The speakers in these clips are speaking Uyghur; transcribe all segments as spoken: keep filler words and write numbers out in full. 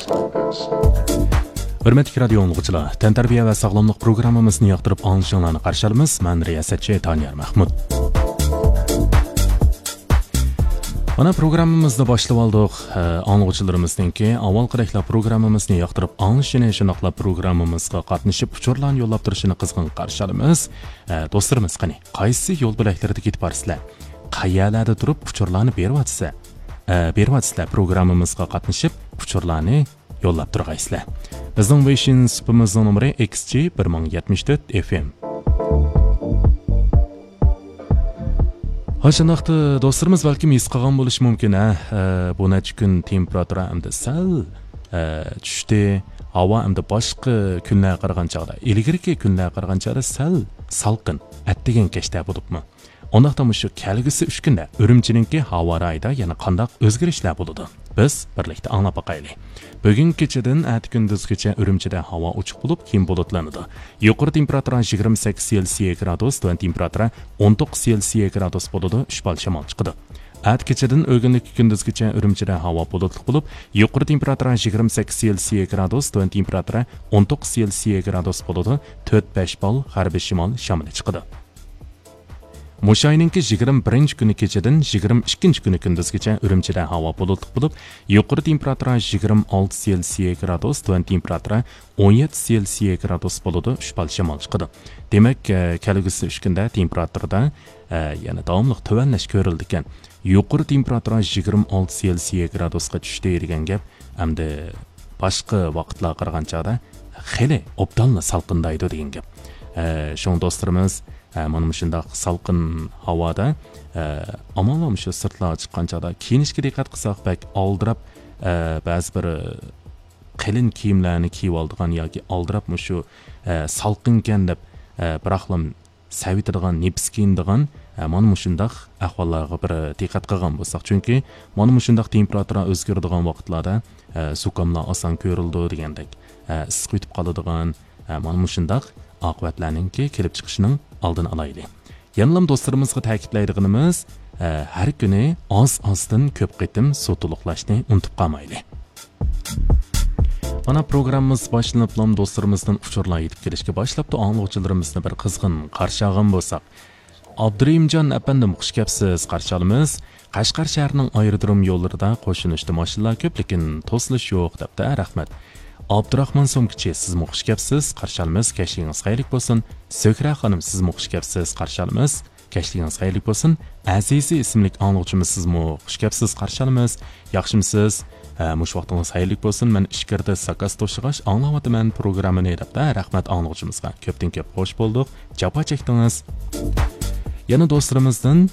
ھۆرمەتلىك رادىيو ئاڭلىغۇچىلار، تەنتەربىيە ۋە ساغلاملىق پروگراممىمىزنى ياقتۇرۇپ ئاڭلىشىڭلارنى قارشى ئالىمىز. مەن رىياسەتچى تانىيار مەھمۇت. مانا، پروگراممىمىزنى باشلىۋالدۇق. ئە، ئاڭلىغۇچىلىرىمىزنىڭكى ئاۋۋالقىدەكلا پروگراممىمىزنى ياقتۇرۇپ ئاڭلىشىنى، شۇنداقلا پروگراممىمىزغا قاتنىشىپ ئۇچۇرلارنى يوللاپ تۇرۇشىنى قىزغىن قارشى ئالىمىز. ئە، دوستلىرىمىز، قېنى، قايسى يول بۆلەكلىرىدە كېتىپ بارسىلەر؟ قەيەرلەردە تۇرۇپ ئۇچۇرلارنى بېرىۋاتىسىلەر؟ ئە، بېرىۋاتىسىلەر، پروگراممىمىزغا قاتنىشىپ ئۇچۇرلارنى يوللاپ تۇرغايسىلەر. بىزنىڭ ۋېيشىن سۇپىمىزنىڭ نومۇرى ئېكس جى بىر مىڭ يەتمىش تۆت ئېف ئېم. ھا، شۇنداقتا دوستلىرىمىز بەلكىم ھېس قىلغان بولۇشى مۇمكىن، ھە، ئە، بۇ نەچچە كۈن تېمپېراتۇرا ئەمدى سەل، ئە، چۈشتى. ھاۋا ئەمدى باشقا كۈنلەرگە قارىغان چاغدا، ئىلگىرىكى كۈنلەرگە قارىغان چاغدا سەل سالقىن، ئەتىگەن كەچتە بولۇپمۇ. ئۇنداقتا مۇشۇ كەلگۈسى ئۈچ كۈندە ئۈرۈمچىنىڭكى ھاۋا رايىدا يەنە قانداق ئۆزگىرىشلەر بولىدۇ؟ بىز بىرلىكتە ئاڭلاپ باقايلى. بۈگۈن كېچىدىن ئەتە كۈندۈزگىچە ئۈرۈمچىدە ھاۋا ئوچۇق بولۇپ، كېيىن بۇلۇتلىنىدۇ. يۇقىرى تېمپېراتۇرا يىگىرمە سەككىز سېلسىيە گرادۇس، تۆۋەن تېمپېراتۇرا ئون توققۇز سېلسىيە گرادۇس بولىدۇ، ئۈچ بال شامال چىقىدۇ. ئەتە كېچىدىن ئۆگۈنلۈككە كۈندۈزگىچە ئۈرۈمچىدە ھاۋا بۇلۇتلۇق بولۇپ، يۇقىرى تېمپېراتۇرا يىگىرمە سەككىز سېلسىيە گرادۇس، تۆۋەن تېمپېراتۇرا ئون توققۇز سېلسىيە گرادۇس بولىدۇ، تۆت بەش بال غەربىي شىمال شامىلى چىقىدۇ. مۇشۇ ئاينىڭكى يىگىرمە بىرىنچى كۈنى كېچىدىن يىگىرمە ئىككىنچى كۈنى كۈندۈزگىچە ئۈرۈمچىدە ھاۋا بۇلۇتلۇق بولۇپ، يۇقىرى تېمپېراتۇرا يىگىرمە ئالتە سېلسىيە گرادۇس، تۆۋەن تېمپېراتۇرا ئون يەتتە سېلسىيە گرادۇس بولىدۇ، ئۈچ بال شامال چىقىدۇ. دېمەك، ئە، كەلگۈسى ئۈچ كۈندە تېمپېراتۇرىدا، ئە، يەنە داۋاملىق تۆۋەنلەش كۆرۈلىدىكەن. يۇقىرى تېمپېراتۇرا يىگىرمە ئالتە سېلسىيە گرادۇسقا چۈشتى دېگەن گەپ، ئەمدى باشقا ۋاقىتلارغا قارىغان چاغدا خېلى ئوبدانلا سالقىندايدۇ دېگەن گەپ. ئە، شۇڭا دوستلىرىمىز، ئە، مانا مۇشۇنداق سالقىن ھاۋادا، ئە، ئامما مۇشۇ سىرتلارغا چىققان چاغدا كىيىنىشكە دىققەت قىلساق، بەك ئالدىراپ، ئە، بەزى بىر قېلىن كىيىملەرنى كىيىۋالىدىغان ياكى ئالدىراپ مۇشۇ، ئە، سالقىنكەن دەپ، ئە، بىراقلا سەۋىتىدىغان، نېپىز كىيىنىدىغان، ئە، مانا مۇشۇنداق ئەھۋاللارغا بىر دىققەت قىلغان بولساق، چۈنكى مانا مۇشۇنداق تېمپېراتۇرا ئۆزگىرىدىغان ۋاقىتلاردا، ئە، زۇكاملار ئاسان كۆرۈلىدۇ دېگەندەك، ئە، ئىسسىق ئۆتۈپ قالىدىغان، ئە، مانا مۇشۇنداق ئاقىۋەتلەرنىڭكى كېلىپ چىقىشىنىڭ ئالدىنى ئالايلى. يەنىلا دوستلىرىمىزغا تەكىتلەيدىغىنىمىز، ئە، ھەر كۈنى ئاز-ئازدىن كۆپ قېتىم سۇ تولۇقلاشنى ئۇنتۇپ قالمايلى. مانا، پروگراممىمىز باشلىنىپلا دوستلىرىمىزدىن ئۇچۇرلار يېتىپ كېلىشكە باشلاپتۇ. ئاڭلىغۇچىلىرىمىزنى بىر قىزغىن قارشى ئالغان بولساق. ئابدۇرېھىمجان ئەپەندىم، خۇش كەپسىز، قارشى ئالىمىز. قەشقەر شەھىرىنىڭ ئايرودروم يوللىرىدا قوشۇنۇشتا ماشىنىلار كۆپ، لېكىن توسۇلۇش يوق، دەپتۇ. رەھمەت. ئابدۇراخمان سومكىچى، سىزمۇ خۇش كەپسىز، قارشى ئالىمىز. كەچلىكىڭىز خەيرلىك بولسۇن. سۆھرە خانىم، سىزمۇ خۇش كەپسىز، قارشى ئالىمىز. كەچلىكىڭىز خەيرلىك بولسۇن. ئەزىزى ئىسىملىك ئاڭلىغۇچىمىز، سىزمۇ خۇش كەپسىز، قارشى ئالىمىز. ياخشىمۇسىز؟ ھە، مۇشۇ ۋاقتىڭىز خەيرلىك بولسۇن. مەن ئىچكىرىدە زاكاز توشۇغاچ ئاڭلاۋاتىمەن پروگراممىنى، دەپتۇ. رەھمەت ئاڭلىغۇچىمىزغا. كۆپتىن كۆپ خوش بولدۇق. جاپا چەكتىڭىز. يەنە دوستلىرىمىزدىن،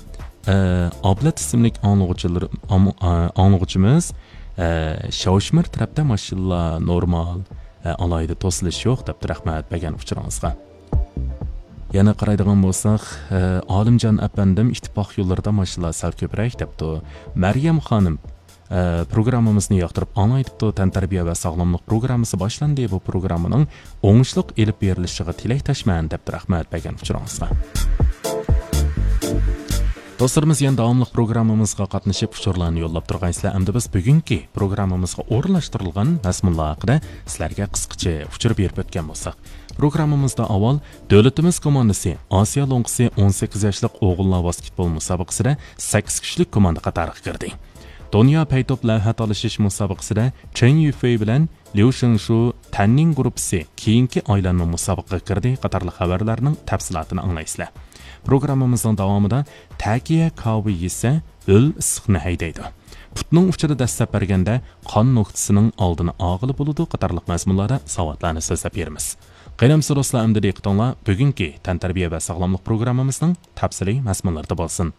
ئە، ئابلەت ئىسىملىك ئاڭلىغۇچىلىرى-، ئام-، ئە، ئاڭلىغۇچىمىز، ئە، شاۋشىمىر تەرەپتە ماشىنىلار نورمال، ئە، ئالاھىدە توسۇلۇش يوق، دەپتۇ. رەھمەت بەرگەن ئۇچۇرىڭىزغا. يەنە قارايدىغان بولساق، ئە، ئالىمجان ئەپەندىم، ئىتتىپاق يوللىرىدا ماشىنىلار سەل كۆپرەك، دەپتۇ. مەريەم خانىم، ئە، پروگراممىمىزنى ياقتۇرۇپ ئاڭلايدىپتۇ، تەنتەربىيە ۋە ساغلاملىق پروگراممىسى باشلاندى، بۇ پروگراممىنىڭ ئوڭۇشلۇق ئېلىپ بېرىلىشىغا تىلەكداشمەن، دەپتۇ. رەھمەت بەرگەن ئۇچۇرىڭىزغا. دوستلىرىمىز، يەنە داۋاملىق پروگراممىمىزغا قاتنىشىپ ئۇچۇرلارنى يوللاپ تۇرغايسىلەر. ئەمدى بىز بۈگۈنكى پروگراممىمىزغا ئورۇنلاشتۇرۇلغان مەزمۇنلار ھەققىدە سىلەرگە قىسقىچە ئۇچۇر بېرىپ ئۆتكەن بولساق. پروگراممىمىزدا ئاۋۋال دۆلىتىمىز كوماندىسى ئاسىيا لوڭقىسى ئون سەككىز ياشلىق ئوغۇللار ۋاسكېتبول مۇسابىقىسىدە سەككىز كۈچلۈك كوماندا قاتارىغا كىردى. دۇنيا پەيتوپ لەۋھە تالىشىش مۇسابىقىسىدە چېن يۈفېي بىلەن ليۇ شېڭشۇ تەننىڭ گۇرۇپپىسى كېيىنكى ئايلانما مۇسابىقىگە كىردى قاتارلىق خەۋەرلەرنىڭ تەپسىلاتىنى ئاڭلايسىلەر. پروگراممىمىزنىڭ داۋامىدا تەكىيە كاۋا يېسە، ھۆل ئىسسىقنى ھەيدەيدۇ. پۇتنىڭ ئۇچىدا دەسسەپ بەرگەندە قان نۆكتىسىنىڭ ئالدىنى ئالغىلى بولىدۇ قاتارلىق مەزمۇنلاردا ساۋاتلارنى سۆزلەپ بېرىمىز. قېنى ئەمىسە دوستلار، ئەمدى دىققىتىڭلار بۈگۈنكى تەنتەربىيە ۋە ساغلاملىق پروگراممىمىزنىڭ تەپسىلىي مەزمۇنلىرىدا بولسۇن.